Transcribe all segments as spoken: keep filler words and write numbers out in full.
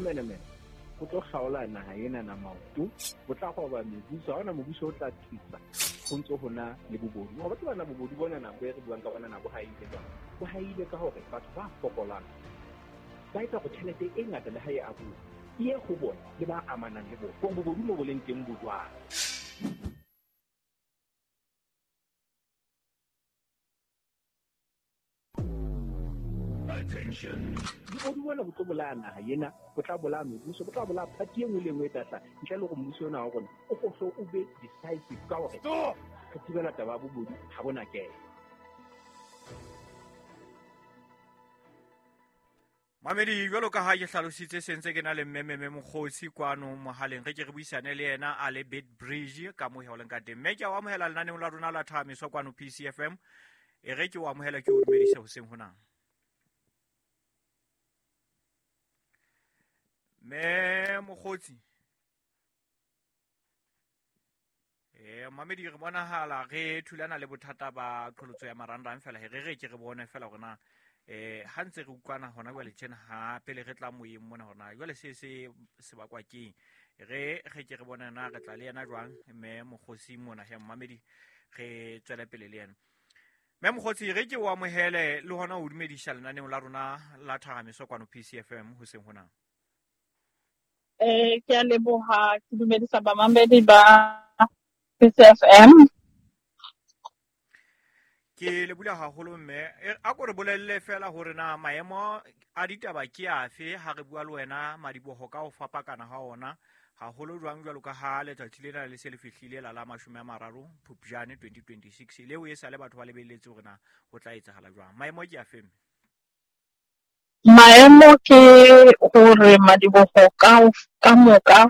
Bomenemene bo tlo kgaola naha ena na maoto, bo tla roba mebuso, ha hona mobuso o tla thusa ho ntso hona le bobodu. Ngoba tseba na bobodu bona na bo re buang ka bona na bo haile jwang. Bo haile ka hore batho ba fokolang ba etsa hore tjhelete e ngata le ha e abuwa e ye ho bona le ba amanang le bona. Hore bobodu mo bo leng teng bo jwang. Attention. Bobodu bona bo tlo bolaya naha ena, bo tla bolaya mebuso, bo tla bolaya party e nngwe le e nngwe e tla hlaha. Ntle le hore mmuso ona wa rona o hlo o be decisive ka hore re thibela taba ya bobodu ha bona kena. Mamedi, jwalo ka ha ke hlalositse se ntse ke na le mme Meme Mokgotsi kwano mohaleng, re ke re buisane le yena a le Beitbridge ka moo ho leng ka teng. Mme ke a o amohela lenaneong la rona la Thahamiso kwano P C F M. E re ke o amohela, ke o dumedise hoseng hona. Mme Mokgotsi, eh mamedi, re bonahala re thulana le bothata ba qholotso ya marangrang fela. Re re ke re bone fela hore na eh ha ntse re utlwana hona jwale tjena, ha pele re tla moyeng mona hore na jwale se se se bakwa keng. Re re ke re bone na re tla le yena jwang mme Mokgotsi mona he mamedi, re tswele pele le yena. Mme Mokgotsi, re ke o amohele le hona o dumedisa lenaneong la rona la Thahamiso kwano P C F M hoseng hona. Eh, ke a leboha, ke dumedisa bamamedi ba P C F M. Ke le bula haholo mme, a ko re bolelle fela hore na maemo a ditaba ke afe ha re bua le wena madiboho ka ho fapakana ha ona, haholo jwang jwalo ka ha letsatsi lena le se le fihlile la la mashome a mararo Phupjane twenty twenty-six, leo e sale batho ba lebelletse hore na ho tla etsahala jwang. Maemo ke afe mme? Maemo ke hore madiboho ka ka moka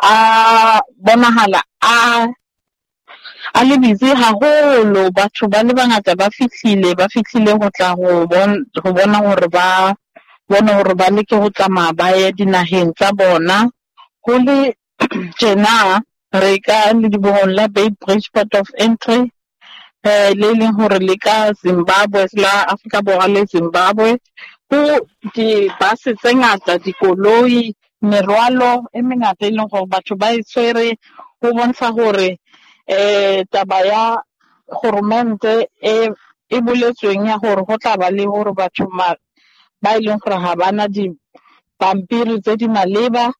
a bonahala a a le busy haholo. Batho ba le bangata ba fihlile, ba fihlile ho tla ho bon-, ho bona hore ba bone hore ba leke ho tsamaya ba ye dinaheng tsa bona. Ho le tjena re ka ledibohong la Beitbridge Port of Entry, eh, le leng hore le ka Zimbabwe, la Afrika Borwa le Zimbabwe. Ho di-bus tse ngata, dikoloi, merwalo e mengata e leng hore batho ba e tshwere, ho bontsha hore eh taba ya kgoromente e, e boletsweng ya hore ho tla ba le hore batho ma-, ba e leng hore ha bana dipampiri tse di maleba,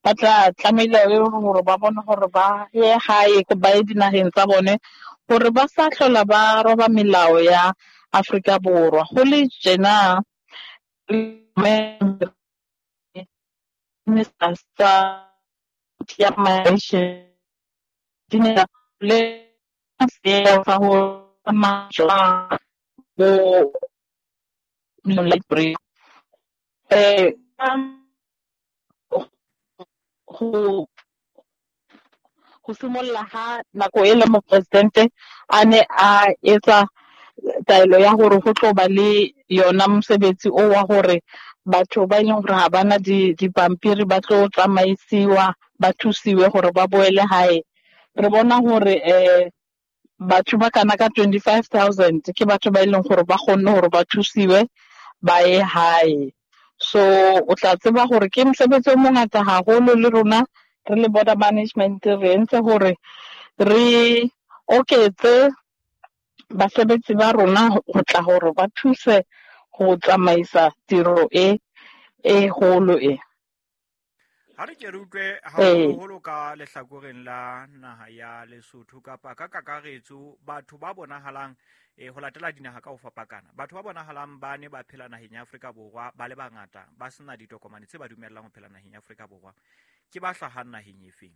ba tla tlamehile hore ba bone hore ba ye hae, ba ye dinaheng tsa bone, hore ba sa hlola ba roba melao ya Afrika Borwa. Ho le tjena, Minister tsa ya Migration di ne le sewa ho tsamaya jwang bo library. Eh, ho, ho simolla ha nako e le mopresidente a ne a etsa taelo ya hore ho tlo ba le yona mosebetsi o wa hore batho ba e leng hore ha bana di-, dipampiri ba tlo tsamaisiwa, ba thusiwe hore ba boele hae. Re bona hore, eh, batho ba kana ka twenty-five thousand ke batho ba e leng hore ba kgonne hore ba thusiwe ba ye hae. So o tla tseba hore ke mosebetsi o mongata haholo, le rona re le border management re entse hore re oketse basebetsi ba rona ho tla hore ba thuse ho tsamaisa tiro e, e holo e. Ha re ke re utlwe Ee. haholoholo ka lehlakoreng la naha ya Lesotho kapa ka kakaretso, batho ba bonahalang, eh, ho latela dinaha ka ho fapakana, batho ba bonahalang ba ne ba phela naheng ya Afrika Borwa ba le bangata, ba sena ditokomane tse ba dumellang ho phela naheng ya Afrika Borwa, ke ba hlahang naheng efeng?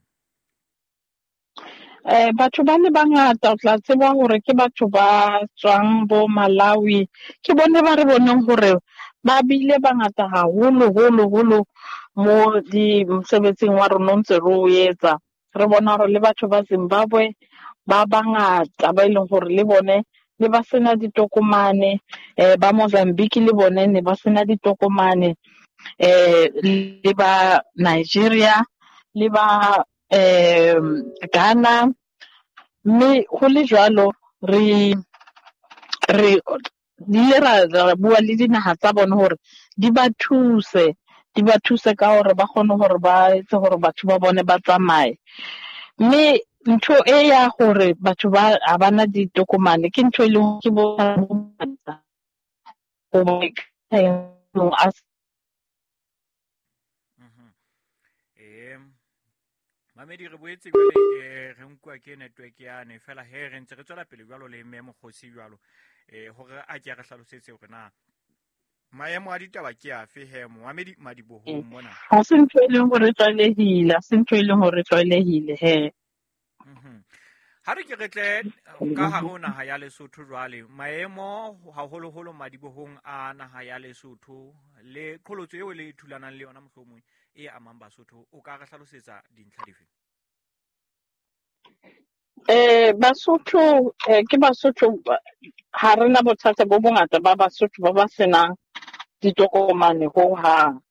Eh, batho ba le bangata o tla tseba hore ke batho ba tswang bo Malawi, ke bone ba re boneng hore ba bile bangata haholo, holo, holo mo di mosebetsing wa rona o ntse re o etsa. Re bona hore le batho ba Zimbabwe ba bangata ba e leng hore le bone ne ba sena ditokomane, eh, ba Mozambique le bone ne ba sena ditokomane, eh, le ba Nigeria le ba, eh, Ghana. Mme ho le jwalo re, re ile ra, ra bua le dinaha tsa bona hore di ba thuse, di ba thuse ka hore ba kgone hore ba etse hore batho ba bone ba tsamaye. Mme ntho e ya hore batho ba ha bana ditokomane ke ntho e leng ke bo eh mamedi re boetse jwale eh re nkuwa ke network yane fela he re ntse re tswela pele jwalo le mme Mokgosi jwalo eh hore a ke re hlalosetse hore na maemo a ditaba ke afe he momamedi madibohong mona. Ha se ntho e leng hore tlwaelehile, ha se ntho e leng hore tlwaelehile he. Mhm. Ha re ke re tle ka hare ho naha ya Lesotho jwale, maemo haholoholo madibohong a naha ya Lesotho le qholotso eo le thulanang le yona mohlomong e amang Basotho, o ka re hlalosetsa dintlha dife? Eh Basotho eh, ke Basotho ha rena bothata bo bongata ba Basotho ba ba senang ditokomane ho hang.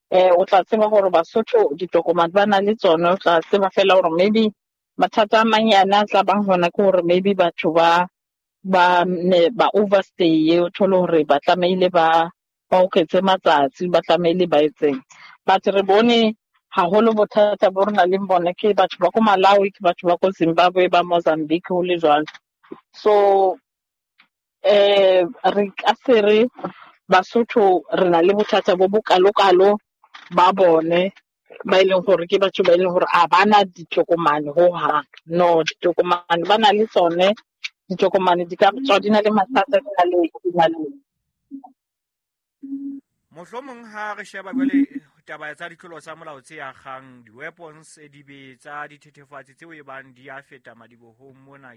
Eh o tla tseba hore Basotho ditokomane ba na le tsona, o tla tseba fela hore maybe mathata a manyane a tla bang hona ke hore maybe batho ba ba ne ba overstay, o thole hore ba tlamehile ba ba oketse matsatsi, ba tlamehile ba etseng. But re bone haholo bothata bo re nang le bona ke batho ba ko Malawi, ke batho ba ko Zimbabwe, ba Mozambique ho le jwalo. So eh re ka se re Basotho re na le bothata bo bokalokalo ba bone ba e leng hore ke batho ba e leng hore ha bana ditokomane ho hang. No, ditokomane ba na le tsone, ditokomane di ka tswa di na le mathata, di na le di na le. Mohlomong ha re sheba jwale taba tsa ditlolo tsa molao tse akgang di-weapons, dibetsa, dithethefatsi tseo e bang di a feta madibohong mona,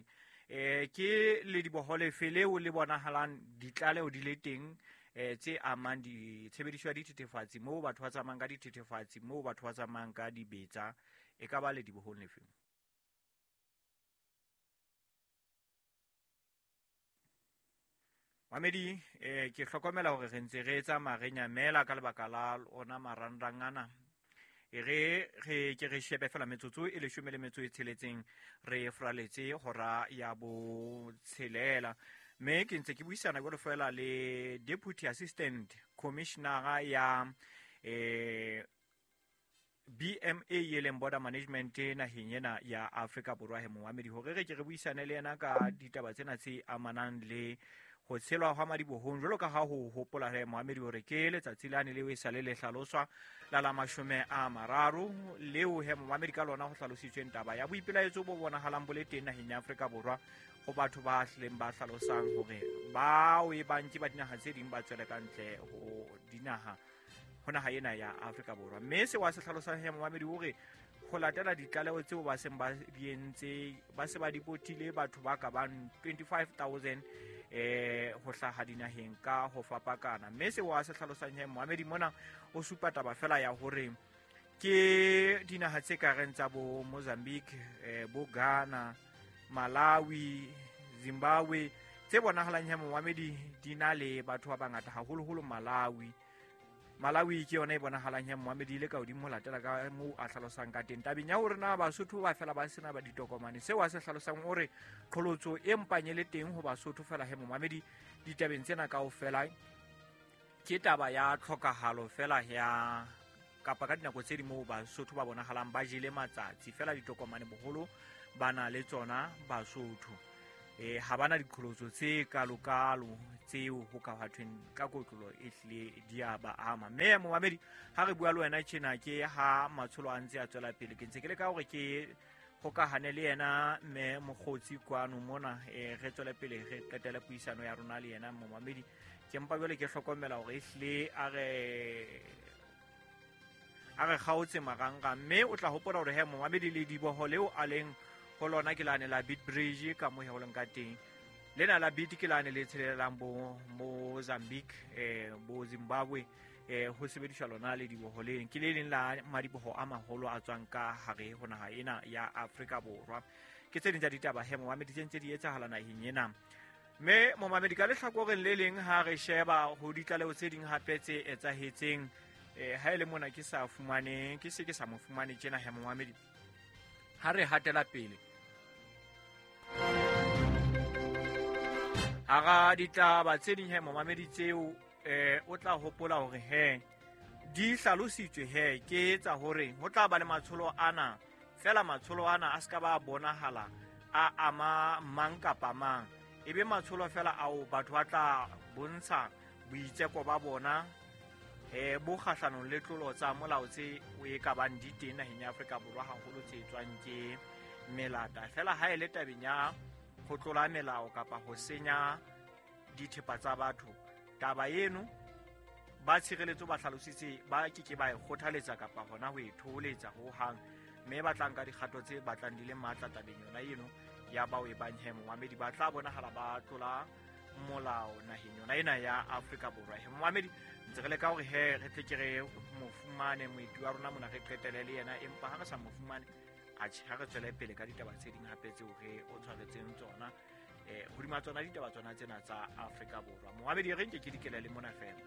eh ke le diboho lefe leo le bonahalang ditlaleho di le teng eh tse amang ditshebediso ya dithethefatsi, moo batho ba tsamayang ka dithethefatsi, moo batho ba tsamayang ka dibetsa, e ka ba le dibohong lefe? Mamedi, eh ke hlokomela hore re ntse re tsamaya re nyamela ka lebaka la ona marangrang ana. E re re ke re shebe fela metsotso e leshome le metso e tsheletseng re fraletse hora ya botshelela. Mme ke ntse ke buisana jwalo fela le Deputy Assistant Commissioner ya eh B M A e leng Border Management naheng ena ya Afrika Borwa he momamedi, hore re ke re buisane le yena ka ditaba tsena tse amanang le ho tshelwa hwa madibohong jwalo ka ha ho hopola he momamedi hore ke letsatsi lane leo e sale le hlaloswa la la mashome a mararo leo he momamedi ka lona ho hlalositsweng taba ya boipelaetso bo bonahalang bo le teng naheng ya Afrika Borwa ho batho ba hlileng ba hlalosang hore bao e bang ke ba dinaha tse ding ba tswele ka ntle ho dinaha ho naha ena ya Afrika Borwa. Mme seo a se hlalosang he momamedi hore ho latela ditlaleho tseo ba seng ba di entse, ba se ba dipotile batho ba ka bang twenty-five thousand eh ho hlaha dinaheng ka ho fapakana. Mme seo a se hlalosang he momamedi mona o supa taba fela ya hore ke dinaha tse ka reng tsa bo Mozambique, eh, bo Ghana, Malawi, Zimbabwe tse bonahalang he momamedi di na le batho ba bangata haholoholo Malawi. Malawi ke yona e bonahalang he momamedi ile ka hodimo ho latela ka moo a hlalosang ka teng. Tabeng ya hore na Basotho ba fela ba sena ba ditokomane, seo a se hlalosang hore qholotso e mpang e le teng ho Basotho fela he momamedi ditabeng tsena kaofela ke taba ya tlhokahalo fela ya kapa ka dinako tse ding moo Basotho ba bonahalang ba jele matsatsi fela ditokomane boholo ba na le tsona Basotho. Eh ha bana diqholotso tse kalokalo tseo ho ka hathweng ka kotlolo e hlile di a ba ama. Mme momamedi ha re bua le wena tjena ke ha matsholo a ntse a tswela pele, ke ntse ke leka hore ke hokahane le yena mme Mokgotsi kwano mona, eh re tswele pele re qetele puisano ya rona le yena momamedi. Ke mpa jwale ke hlokomela hore e hlile a re a re kgaotse marangrang, mme o tla hopola hore he momamedi le diboho leo a leng ho lona ke lane la Beat Bridge ka mo he ka teng. Lena la Beat ke lane le tshelelang bo Mozambique, eh bo Zimbabwe, eh ho sebediswa lona le diboho leng. Ke le leng la madiboho a maholo a tswang ka hare ho naha ena ya Afrika Borwa. Ke tse ding tsa ditaba he momamedi tse ntse di etsahala naheng ena. Mme momamedi ka lehlakoreng le leng ha re sheba ho ditlaleho tse ding hape tse etsahetseng, eh ha ele mona ke sa fumane, ke se ke sa mo fumane tjena he momamedi. Ha re hatela pele hara ditaba tse ding he momamedi tseo, eh o tla hopola hore he Di hlalositswe he ke tsa hore ho tla ba le matsholo ana, fela matsholo ana a ska ba bonahala a ama mang kapa mang. Ebe matsholo fela ao batho ba tla bontsha boitseko ba bona eh bo kgahlanong le tlolo tsa molao tse o e ka bang di teng naheng ya Afrika Borwa, haholo tse tswang ke melata. Fela ha e le tabeng ya ho tlola melao kapa ho senya dithepa tsa batho, taba eno ba tshireletso ba hlalositse ba ke ke ba e kgothaletsa kapa hona ho e thoholetsa ho hang, mme ba tla nka dikgato tse batlang di le matla tabeng yona eno ya bao e bang he momamedi ba tla bonahala ba tlola molao naheng yona ena ya Afrika Borwa. He momamedi, ntse re leka hore he re tle ke re mo fumane moeti wa rona mona, re qetele le yena, empa ha re sa mo fumane, atjhe, ha re tswele pele ka ditaba tse ding hape tseo re o tshwaretseng tsona eh hodima tsona ditaba tsona tsena tsa Afrika Borwa. Momamedi, re nke ke dikele le mona fela.